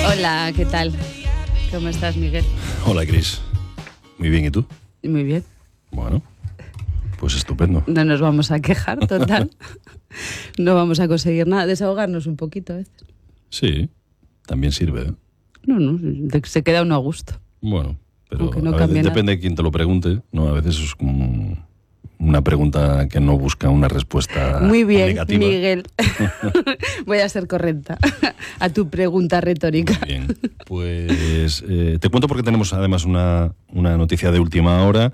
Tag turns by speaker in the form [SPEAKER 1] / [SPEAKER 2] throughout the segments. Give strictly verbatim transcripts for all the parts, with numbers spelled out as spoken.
[SPEAKER 1] Hola, ¿qué tal? ¿Cómo estás, Miguel?
[SPEAKER 2] Hola, Cris. Muy bien, ¿y tú?
[SPEAKER 1] Muy bien.
[SPEAKER 2] Bueno, pues estupendo.
[SPEAKER 1] No nos vamos a quejar, total. No vamos a conseguir nada. Desahogarnos un poquito a veces.
[SPEAKER 2] Sí, también sirve, ¿eh?
[SPEAKER 1] No, no, se queda uno a gusto.
[SPEAKER 2] Bueno, pero
[SPEAKER 1] no
[SPEAKER 2] a veces depende de quién te lo pregunte, ¿no? A veces es como una pregunta que no busca una respuesta
[SPEAKER 1] Muy bien,
[SPEAKER 2] negativa.
[SPEAKER 1] Miguel. Voy a ser correcta a tu pregunta retórica.
[SPEAKER 2] Muy bien, pues eh, te cuento porque tenemos además una, una noticia de última hora.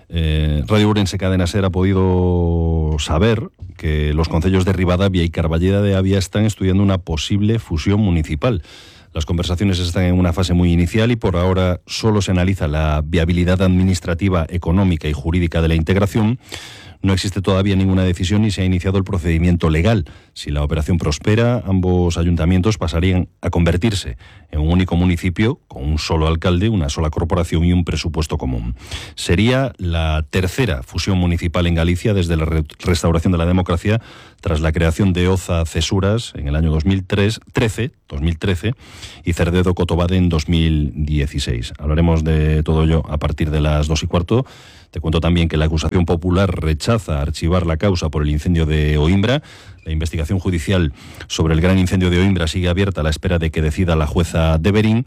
[SPEAKER 2] Eh, Radio Ourense Cadena Ser ha podido saber que los concellos de Ribadavia y Carballeda de Avia están estudiando una posible fusión municipal. Las conversaciones están en una fase muy inicial y por ahora solo se analiza la viabilidad administrativa, económica y jurídica de la integración. No existe todavía ninguna decisión ni se ha iniciado el procedimiento legal. Si la operación prospera, ambos ayuntamientos pasarían a convertirse en un único municipio con un solo alcalde, una sola corporación y un presupuesto común. Sería la tercera fusión municipal en Galicia desde la re- restauración de la democracia tras la creación de Oza Cesuras en el año dos mil trece y Cerdedo Cotobade en dos mil dieciséis. Hablaremos de todo ello a partir de las dos y cuarto. Te cuento también que la acusación popular rechaza archivar la causa por el incendio de Oimbra. La investigación judicial sobre el gran incendio de Oimbra sigue abierta a la espera de que decida la jueza Deverín.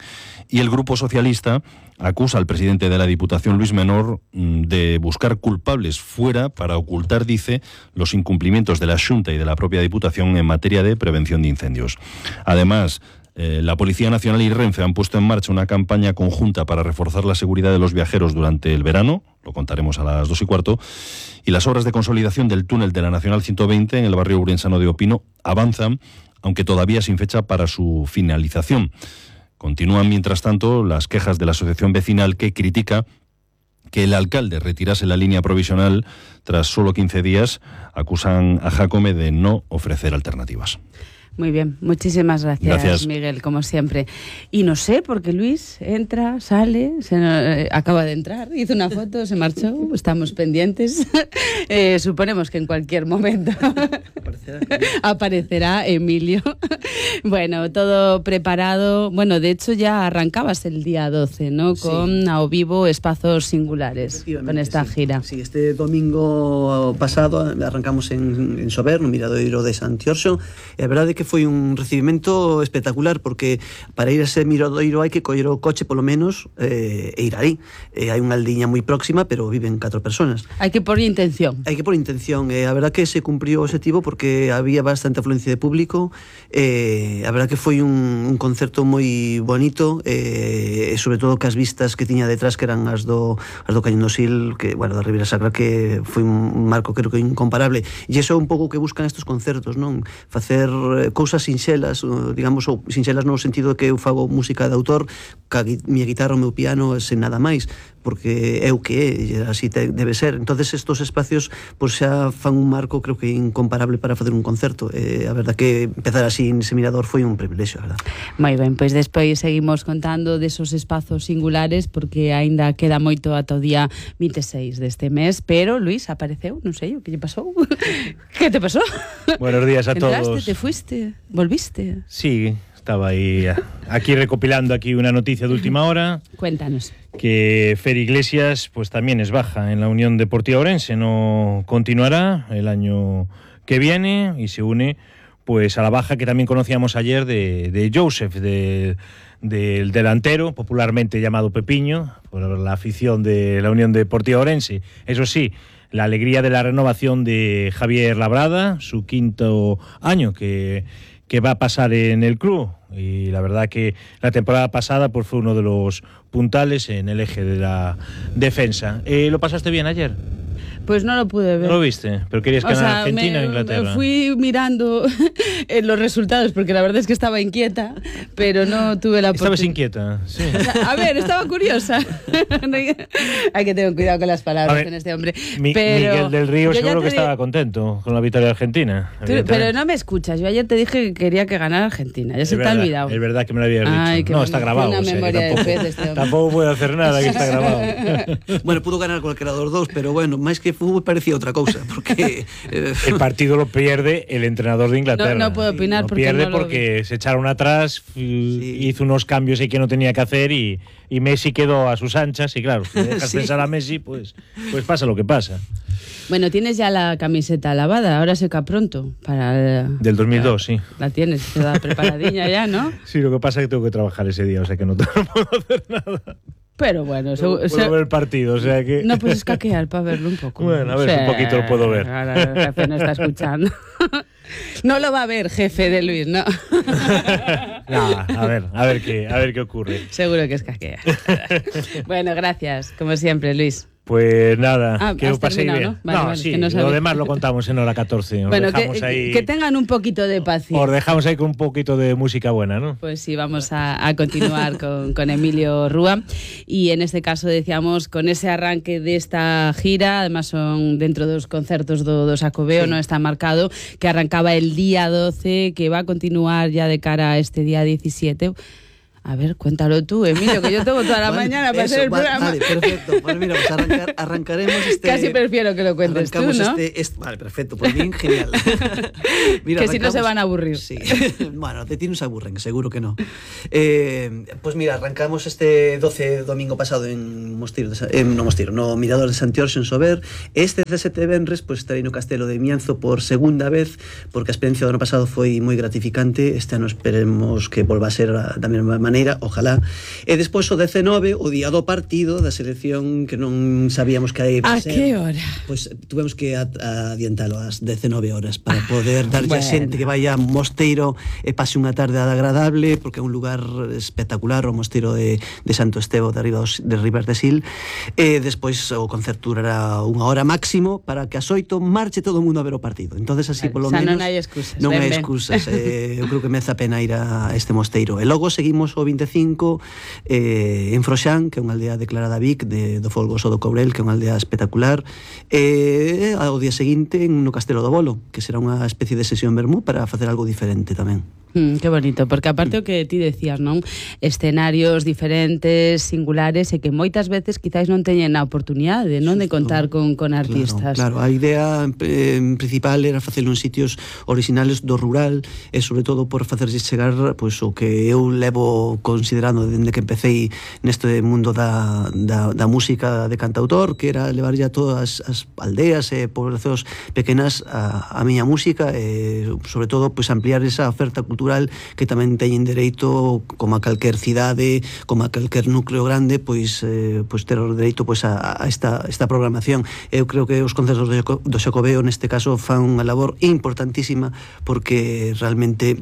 [SPEAKER 2] Y el Grupo Socialista acusa al presidente de la Diputación, Luis Menor, de buscar culpables fuera para ocultar, dice, los incumplimientos de la Xunta y de la propia Diputación en materia de prevención de incendios. Además, Eh, la Policía Nacional y Renfe han puesto en marcha una campaña conjunta para reforzar la seguridad de los viajeros durante el verano, lo contaremos a las dos y cuarto, y las obras de consolidación del túnel de la Nacional ciento veinte en el barrio urensano de Opino avanzan, aunque todavía sin fecha para su finalización. Continúan, mientras tanto, las quejas de la asociación vecinal que critica que el alcalde retirase la línea provisional tras solo quince días. Acusan a Jácome de no ofrecer alternativas.
[SPEAKER 1] Muy bien, muchísimas gracias,
[SPEAKER 2] gracias,
[SPEAKER 1] Miguel, como siempre. Y no sé, porque Luis entra, sale, se, eh, acaba de entrar, hizo una foto, se marchó, estamos pendientes. eh, suponemos que en cualquier momento aparecerá, aparecerá Emilio. Bueno, todo preparado. Bueno, de hecho ya arrancabas el día doce, ¿no? Con sí. Ao Vivo Espazos Singulares, con esta
[SPEAKER 3] sí.
[SPEAKER 1] gira.
[SPEAKER 3] Sí, este domingo pasado arrancamos en, en Sober, no Miradoiro de Santiorxo. É verdade que foi un recibimento espectacular, porque para ir a ese Miradoiro hai que coller o coche polo menos eh, e ir aí. Eh, hai unha aldiña moi próxima, pero viven catro personas.
[SPEAKER 1] Hai que por intención.
[SPEAKER 3] Hai que por intención. Eh, a verdad que se cumpriu o objetivo porque había bastante afluencia de público. Eh, a verdad que foi un, un concerto moi bonito, eh, e sobre todo que as vistas que tiña detrás, que eran as do, as do Cañón do Sil, que, bueno, da Ribeira Sacra, que foi un marco creo que incomparable. E iso é un pouco que buscan estes concertos, non? Facer cousas sinxelas, digamos, ou sinxelas no sentido de que eu fago música de autor, ca miña guitarra, o meu piano, sen nada máis, porque é o que é, así te, debe ser. Entonces estos espacios pois xa fan un marco creo que incomparable para facer un concerto. Eh, a verdad que empezar así nese Mirador foi un privilexio, a verdad.
[SPEAKER 1] Moi ben, pois despois seguimos contando desos espazos singulares, porque aínda queda moito ata o día vinte e seis deste mes, pero Luis apareceu, non sei o que lle pasou. Que te pasou?
[SPEAKER 4] Buenos días a
[SPEAKER 1] Entraste,
[SPEAKER 4] todos.
[SPEAKER 1] te fuiste, volviste.
[SPEAKER 4] Sí, estaba aí aquí recopilando aquí una noticia de última hora.
[SPEAKER 1] Cuéntanos.
[SPEAKER 4] Que Fer Iglesias pues también es baja en la Unión Deportiva Ourense, no continuará el año que viene y se une pues a la baja que también conocíamos ayer de, de Joseph, de, del delantero popularmente llamado Pepiño, por la afición de la Unión Deportiva Ourense. Eso sí, la alegría de la renovación de Javier Labrada, su quinto año que, que va a pasar en el club. Y la verdad que la temporada pasada pues fue uno de los puntales en el eje de la defensa. Eh, ¿Lo pasaste bien ayer?
[SPEAKER 1] Pues no lo pude ver.
[SPEAKER 4] ¿No lo viste? ¿Pero querías ganar
[SPEAKER 1] o sea,
[SPEAKER 4] Argentina
[SPEAKER 1] me,
[SPEAKER 4] o Inglaterra?
[SPEAKER 1] Me fui mirando en los resultados, porque la verdad es que estaba inquieta, pero no tuve la oportunidad.
[SPEAKER 4] ¿Estabas inquieta? Sí.
[SPEAKER 1] O sea, a ver, estaba curiosa. Hay que tener cuidado con las palabras
[SPEAKER 4] ver,
[SPEAKER 1] con este hombre.
[SPEAKER 4] Mi,
[SPEAKER 1] pero
[SPEAKER 4] Miguel del Río seguro que
[SPEAKER 1] di...
[SPEAKER 4] estaba contento con la victoria de Argentina.
[SPEAKER 1] Tú, pero no me escuchas. Yo ayer te dije que quería que ganara Argentina. Ya es se
[SPEAKER 4] verdad,
[SPEAKER 1] te ha olvidado.
[SPEAKER 4] Es verdad que me lo habías dicho.
[SPEAKER 1] Ay,
[SPEAKER 4] no, está grabado.
[SPEAKER 1] Una
[SPEAKER 4] o sea,
[SPEAKER 1] memoria
[SPEAKER 4] tampoco,
[SPEAKER 1] de pez de este hombre.
[SPEAKER 4] Tampoco puedo hacer nada, que está grabado.
[SPEAKER 3] Bueno, pudo ganar cualquiera dos dos, pero bueno, máis que que fútbol parecía outra cousa, porque
[SPEAKER 4] eh, el partido lo pierde el entrenador de Inglaterra.
[SPEAKER 1] No, no puedo opinar
[SPEAKER 4] lo
[SPEAKER 1] porque
[SPEAKER 4] pierde
[SPEAKER 1] no lo
[SPEAKER 4] porque
[SPEAKER 1] vi.
[SPEAKER 4] se echaron atrás, sí. hizo unos cambios ahí que no tenía que hacer y, y Messi quedó a sus anchas y claro, si dejas sí. pensar a Messi, pues, pues pasa lo que pasa.
[SPEAKER 1] Bueno, tienes ya la camiseta lavada, ahora seca pronto. Para el,
[SPEAKER 4] Del dos mil dos,
[SPEAKER 1] para,
[SPEAKER 4] sí.
[SPEAKER 1] La tienes, toda preparadilla ya, ¿no?
[SPEAKER 4] Sí, lo que pasa es que tengo que trabajar ese día, o sea que no, no puedo hacer nada.
[SPEAKER 1] Pero bueno,
[SPEAKER 4] no, puedo se... ver el partido, o sea que...
[SPEAKER 1] No, pues escaquear para verlo un poco.
[SPEAKER 4] Bueno, a ver, o sea, un poquito lo puedo ver.
[SPEAKER 1] Ahora el jefe no está escuchando. No lo va a ver, jefe de Luis, ¿no?
[SPEAKER 4] Nada, a ver, a ver qué, a ver qué ocurre.
[SPEAKER 1] Seguro que escaquea. Bueno, gracias, como siempre, Luis.
[SPEAKER 4] Pues nada,
[SPEAKER 1] ah,
[SPEAKER 4] que os paséis bien.
[SPEAKER 1] ¿no? Vale,
[SPEAKER 4] no,
[SPEAKER 1] vale,
[SPEAKER 4] sí,
[SPEAKER 1] que no
[SPEAKER 4] lo demás lo contamos en hora catorce. Os
[SPEAKER 1] bueno,
[SPEAKER 4] dejamos
[SPEAKER 1] que,
[SPEAKER 4] ahí,
[SPEAKER 1] que tengan un poquito de paciencia.
[SPEAKER 4] Os dejamos ahí con un poquito de música buena, ¿no?
[SPEAKER 1] Pues sí, vamos a, a continuar con, con Emilio Rúa. Y en este caso decíamos, con ese arranque de esta gira, además son dentro dos concertos do, do Xacobeo, sí. No está marcado, que arrancaba el día doce, que va a continuar ya de cara a este día diecisiete. A ver, cuéntalo tú, Emilio, que yo tengo toda la vale, mañana para eso, hacer el
[SPEAKER 3] vale,
[SPEAKER 1] programa.
[SPEAKER 3] Vale, perfecto. Pues mira, pues arrancar, arrancaremos este...
[SPEAKER 1] Casi prefiero que lo cuentes tú, ¿no?
[SPEAKER 3] Este, este, vale, perfecto, pues bien, genial.
[SPEAKER 1] Mira, que si no se van a aburrir.
[SPEAKER 3] Sí, bueno, de ti no se aburren, seguro que no. Eh, pues mira, arrancamos este doce domingo pasado en Mosteiro, de, eh, no Mosteiro, no Mirador de Santiorxe en Sober. Este dezasete venres, pues estarei no Castelo de Mianzo por segunda vez, porque a experiencia do ano pasado foi moi gratificante. Este ano esperemos que volva a ser da mesma maneira, ojalá. E despois o dezenove, o día do partido da selección, que non sabíamos que aí
[SPEAKER 1] a ser. A que hora?
[SPEAKER 3] Pois pues, tuvemos que adiantalo ás dezenove horas para poder darlle bueno. a xente que vaya a Mosteiro e pase unha tarde agradable, porque é un lugar espectacular, o Mosteiro de, de Santo Estevo de, arriba dos, de Ribas de Sil. E despois o concerto durará unha hora máximo para que ás oito marche todo o mundo a ver o partido. Entonces así
[SPEAKER 1] vale,
[SPEAKER 3] polo
[SPEAKER 1] o sea,
[SPEAKER 3] menos
[SPEAKER 1] non hai excusas.
[SPEAKER 3] Non
[SPEAKER 1] ven,
[SPEAKER 3] hai
[SPEAKER 1] ven.
[SPEAKER 3] excusas. eh, eu creo que merece a pena ir a este Mosteiro. E logo seguimos o vinte e cinco eh, en Froxán, que é unha aldea declarada Vic de, do Folgoso do Courel, que é unha aldea espectacular, e eh, ao día seguinte no Castelo do Bolo, que será unha especie de sesión vermú para facer algo diferente tamén.
[SPEAKER 1] Mm, qué bonito, porque aparte o que ti decías, non? Escenarios diferentes, singulares, e que moitas veces quizáis non teñen a oportunidade, non, de contar con, con artistas.
[SPEAKER 3] Claro, claro, a idea eh, principal era facelo en sitios originales do rural, e sobre todo por facerse chegar pois, o que eu levo considerando dende que empecéi neste mundo da, da, da música de cantautor, que era levar ya todas as aldeas e poblacións pequenas a, a miña música, e sobre todo pois, ampliar esa oferta cultural que tamén teñen dereito, como a calquer cidade, como a calquer núcleo grande, pois, eh, pois ter o dereito pois, a, a esta, esta programación. Eu creo que os concertos do Xacobeo neste caso fan unha labor importantísima, porque realmente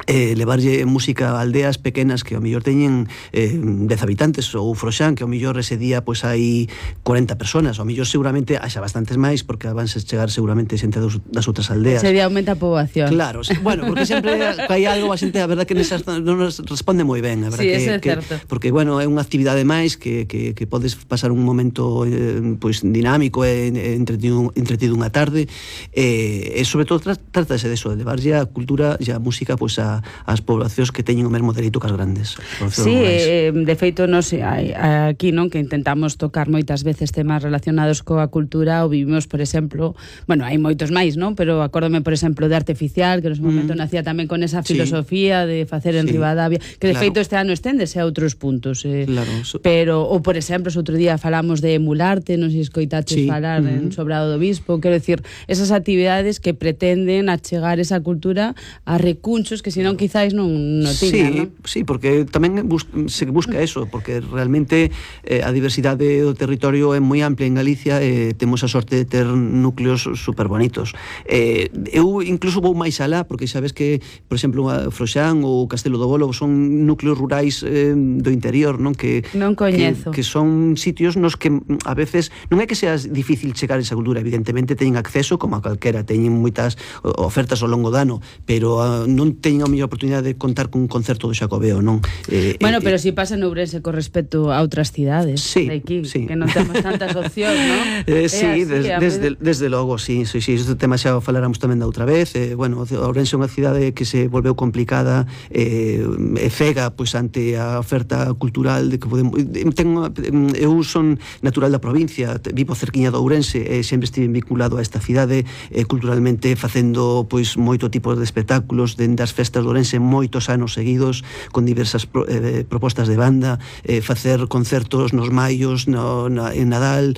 [SPEAKER 3] eh, levarlle música a aldeas pequenas que ao mellor teñen eh, dez habitantes, ou Froxán, que ao mellor ese día pois hai corenta personas, ao mellor seguramente haxa bastantes máis, porque van a chegar seguramente xente das outras aldeas.
[SPEAKER 1] Ese día aumenta a poboación.
[SPEAKER 3] Claro, bueno, porque sempre hai algo, a xente, a verdad que nesas non nos responde moi ben, a verdad
[SPEAKER 1] sí,
[SPEAKER 3] que,
[SPEAKER 1] eso é
[SPEAKER 3] que
[SPEAKER 1] certo.
[SPEAKER 3] Porque bueno, é unha actividade máis que, que, que podes pasar un momento eh, pois dinámico e entretido, entretido unha tarde, e, e sobre todo trátase de eso, de levarlle a cultura e a música pois a as poblacións que teñen o mesmo dereito que as grandes.
[SPEAKER 1] Sí, eh, de feito nos hai, aquí non que intentamos tocar moitas veces temas relacionados coa cultura, ou vivimos, por exemplo, bueno, hai moitos máis, non? Pero acórdome, por exemplo, de Artificial, que no seu momento mm. nacía tamén con esa filosofía sí. de facer en sí. Ribadavia, que de claro. feito este ano esténdese a outros puntos. Eh,
[SPEAKER 3] claro.
[SPEAKER 1] Pero, ou por exemplo, outro día falamos de Emularte, non sei se escoitaches sí. falar mm-hmm. en Sobrado do Bispo, quero decir, esas actividades que pretenden achegar esa cultura a recunchos que senón quizáis non, non tiña,
[SPEAKER 3] sí,
[SPEAKER 1] non?
[SPEAKER 3] Sí, porque tamén bus se busca eso, porque realmente eh, a diversidade do territorio é moi amplia en Galicia e eh, temos a sorte de ter núcleos super bonitos. Eh, eu incluso vou máis alá, porque sabes que, por exemplo, a Froxán ou Castelo do Bolo son núcleos rurais eh, do interior, non? Que,
[SPEAKER 1] non coñezo.
[SPEAKER 3] Que, que son sitios nos que a veces non é que sea difícil chegar a esa cultura, evidentemente teñen acceso como a calquera, teñen moitas ofertas ao longo do ano, pero uh, non teñen a mellor oportunidade de contar cun concerto do Xacobeo, non?
[SPEAKER 1] Eh, bueno, eh, pero si pasa en Ourense con respecto a outras cidades,
[SPEAKER 3] sí,
[SPEAKER 1] de aquí,
[SPEAKER 3] sí.
[SPEAKER 1] que non temos tantas opcións, non?
[SPEAKER 3] Eh, sí,
[SPEAKER 1] así,
[SPEAKER 3] des, desde, desde logo, sí, sí, sí, este tema xa o faláramos tamén da outra vez. Eh, bueno, Ourense é unha cidade que se volveu complicada, eh, e cega pois ante a oferta cultural de que podemos. Tengo, eu son natural da provincia, vivo cerquiña de Ourense e sempre estive vinculado a esta cidade eh, culturalmente, facendo pois moito tipo de espectáculos dende as festas de Ourense moitos anos seguidos, con diversas pro, eh, propostas de banda, eh, facer concertos nos maios, no, na, en Nadal.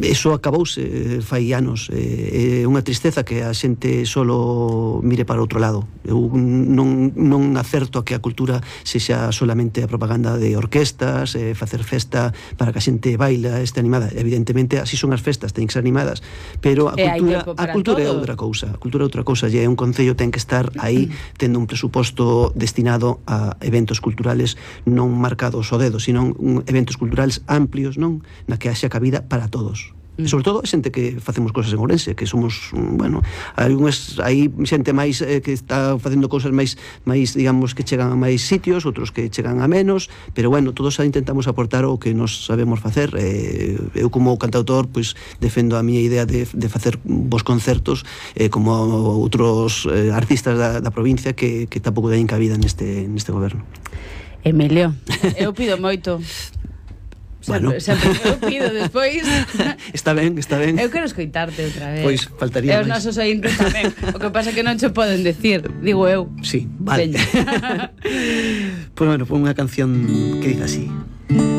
[SPEAKER 3] Eso acabouse fai anos. É eh, unha tristeza que a xente solo mire para outro lado. Eu non, non acerto a que a cultura sexa solamente a propaganda de orquestas, eh, facer festa para que a xente baila, este animada. Evidentemente, así son as festas, ten que ser animadas, pero a cultura, a cultura é outra cousa. A cultura é outra cousa, e é un concello ten que estar aí tendo un presuposto destinado a eventos culturales non marcados ao dedo, sino un, eventos culturales amplios, non, na que haxa cabida para todos. E sobre todo xente que facemos cosas en Ourense, que somos, bueno, hai unhas, hai xente máis eh, que está facendo cousas máis máis, digamos, que chegan a máis sitios, outros que chegan a menos, pero bueno, todos intentamos aportar o que nos sabemos facer. Eh, eu como cantautor, pois defendo a miña idea de, de facer bons concertos, eh, como outros eh, artistas da, da provincia que, que tampouco teñen cabida neste, neste goberno.
[SPEAKER 1] Emilio, eu pido moito.
[SPEAKER 3] Bueno.
[SPEAKER 1] Sempre, sempre eu pido despois.
[SPEAKER 3] Está ben, está ben.
[SPEAKER 1] Eu quero escoitarte outra vez.
[SPEAKER 3] Pois faltaría
[SPEAKER 1] E os
[SPEAKER 3] máis.
[SPEAKER 1] nosos ointes tamén. O que pasa é que non che poden decir, digo eu.
[SPEAKER 3] Sí, vale. Pois bueno, foi unha canción que dice así.